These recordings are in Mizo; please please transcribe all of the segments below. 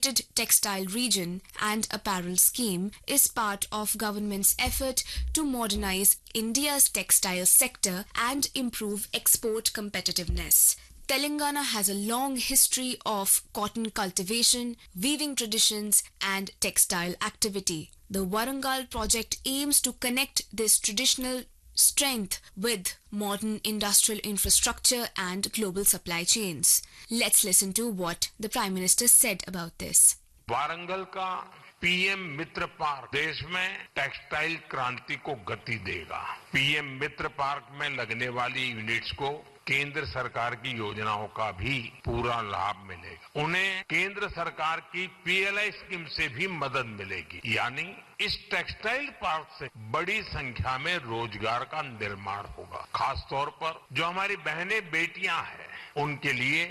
Textile Region and Apparel Scheme is part of government's effort to modernize India's textile sector and improve export competitiveness. Telangana has a long history of cotton cultivation, weaving traditions, and textile activity. The Warangal project aims to connect this traditional strength with modern industrial infrastructure and global supply chains. Let's listen to what the Prime Minister said about this. Warangal का PM मित्र park देश में textile क्रांति को गति देगा PM मित्र park में लगने वाली यूनिट्स को केंद्र सरकार की योजनाओं का भी पूरा लाभ मिलेगा उन्हें केंद्र सरकार की पीएलआई स्कीम से भी मदद मिलेगी यानी इस टेक्सटाइल पार्क से बड़ी संख्या में रोजगार का निर्माण होगा खासतौर पर जो हमारी बहनें बेटियां हैं उनके लिए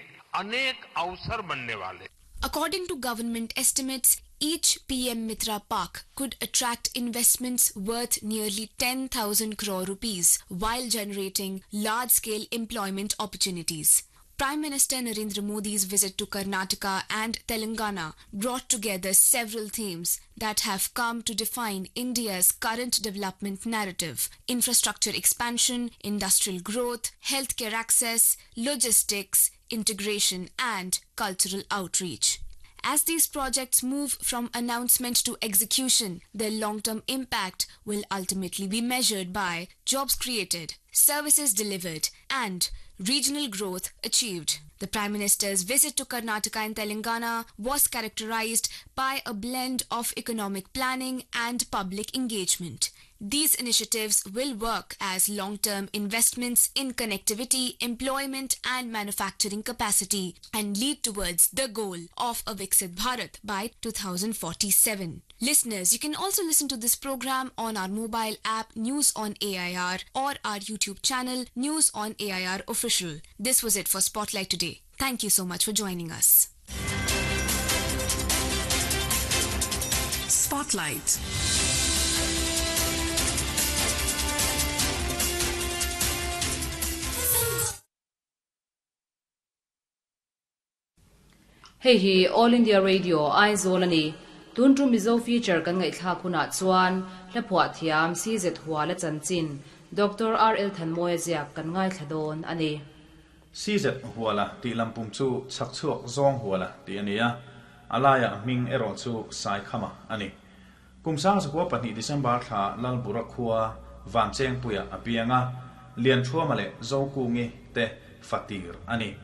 अनेक अवसर बनने वाले According to government estimates, each PM Mitra Park could attract investments worth nearly 10,000 crore rupees while generating large scale employment opportunities. Prime Minister Narendra Modi's visit to Karnataka and Telangana brought together several themes that have come to define India's current development narrative infrastructure expansion, industrial growth, healthcare access, logistics, integration, and cultural outreach. As these projects move from announcement to execution, their long term impact will ultimately be measured by jobs created, services delivered, and regional growth achieved. The Prime Minister's visit to Karnataka and Telangana was characterized by a blend of economic planning and public engagement. These initiatives will work as long term investments in connectivity, employment, and manufacturing capacity and lead towards the goal of a Viksit Bharat by 2047. Listeners, you can also listen to this program on our mobile app News on AIR or our YouTube channel News on AIR Official. This was it for Spotlight today. Thank you so much for joining us. Spotlight. Hei hi All India Radio Aizawl a ni. Tun tum Mizo feature kan ngaihthlak hunah chuan hla phuah thiam CZ Huala chanchin Doctor RL Thanmawia ziak kan ngaithla dawn a ni. CZ Huala tih lampum chu chhak chhuak zawng Huala tih a ni a, a laiah hming erawh chu Saikhama a ni. Kum 2002 December thla Lalbura khua Vanchengpuia a piang a, Lianthuama leh Zokungi te fatir a ni.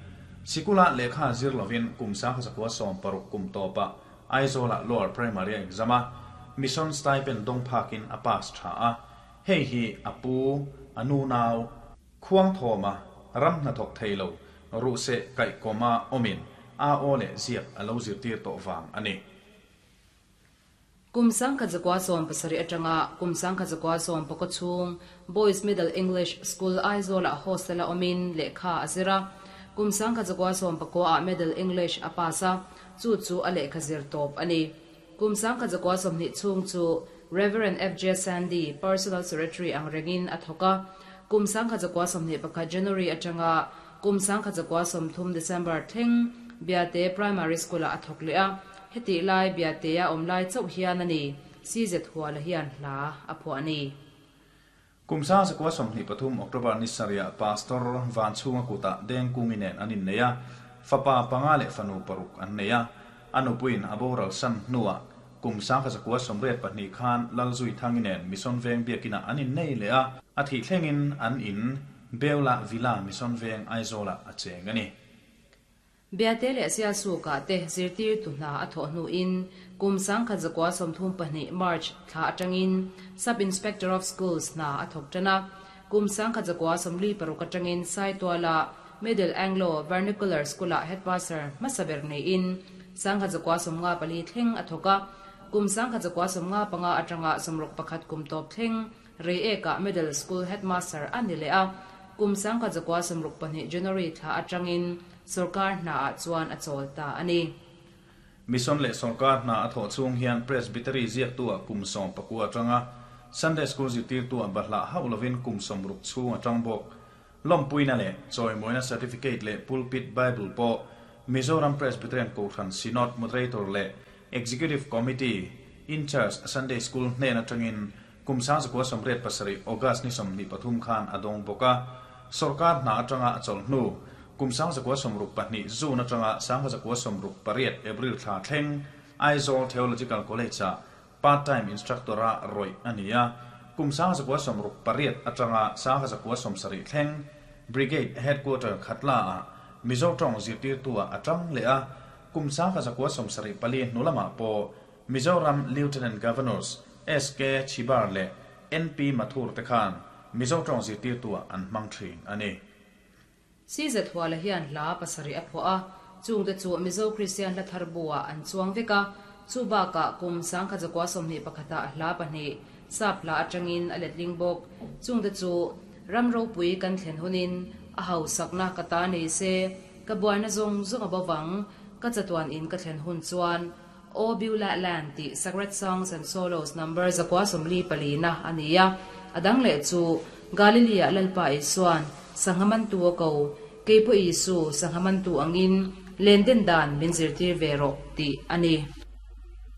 Sikula lehkha zir lovin kum 1960 kum tawpah Aizawlah Lower Primary a exam a, Mission Stipend dawng phakin a pass tha a. Hei hi a pu, a nu nau, Khuangthawma ram hnathawk thei lo ruhseh kaihkawma awmin a aw leh ziak a lo zirtir tawh vang a ni. Kum 1970 atanga kum 1970 chhung Boys Middle English School Aizawl-ah hostel-a awmin lehkha a zir a. Kum 1990 ah Middle English a pass a, chu chu a lehkha zir tawp a ni. Kum 1920 chhung chu Rev. FJ Sandy Personal Secretary ang rengin a thawk a. Kum 1921 January atanga kum 1930 December thleng Biate Primary School-ah a thawk leh a. Hetih lai Biatea awm lai chauh hian a ni, CZ Huala hian hla a phuah a ni. Kum 1923 October ni sarihah Pastor Vanchhunga kutah Dengkungi nen an innei a, fapa panga leh fanu paruk an nei a. A nupuiin a boral san hnuah kum 1982 khan Lalzuithangi nen Mission Veng biakinah an innei leh a, a thih thlengin an in Beulah Villa Mission Veng Aizawlah a cheng a ni. Biate leh Sialsukah te zirtirtu hna a thawh hnuin kum 1932 March thla atangin Sub Inspector of Schools hna a thawk tan a. Kum 1946 atangin Saituala Middle Anglo Vernacular School-ah Headmaster hmasa ber neiin 1954 thleng a thawk a. Kum 1955 atanga 61 kum tawp thleng Reiekah Middle School Headmaster a ni leh a. Kum 1962 January thla atangin Sorkar hnaah chuan a chawl ta a ni. Mission leh sorkar hna a thawh chhung hian Presbytery ziaktu-ah kum 19 a tang a, Sunday School zirtirtu-ah bahlah hauh lovin kum 60 chhung a tang bawk. Lawmpuina leh chawimawina certificate leh pulpit Bible pawh Mizoram Presbyterian Kohhran Synod Moderator leh Executive Committee In-Charge Sunday School hnen atangin kum 1987 August ni 23 khan a dawng bawk a. Sorkar hna atanga a chawlh hnu kum 1962 June atanga 1968 April thla thleng Aizawl Theological College-ah part-time instructor-a rawih a ni a. Kum 1968 atanga 1970 thleng Brigade Headquarter Khatla-ah Mizo tawng zirtirtu-ah a tang leh a. Kum 1974 hnu lamah pawh Mizoram Lieutenant Governors SK Chhibar leh NP Mathur te khan Mizo tawng zirtirtu-ah an hmang thin a ni. CZ Huala hian hla pasarih a phuah a, chungte chu Mizo Kristian hla thar bu-ah an chuang vek a, chu bakah kum 1921 ah hla pahnih sap hla atangin a letling bawk. Chungte chu ram ropui kan thlen hunin a hausakna ka ta nei se, ka buaina zawng zawng a bo vang, ka chatuan in ka thlen hun chuan O Beulah Land tih Sacred Songs and Solos number 144 na a ni a. A dang leh chu Galilea Lalpa Isuan sangha mantu a ko, Keipawh Isu sangha mantu angin len den dan min zirtir ve rawh tih a ni.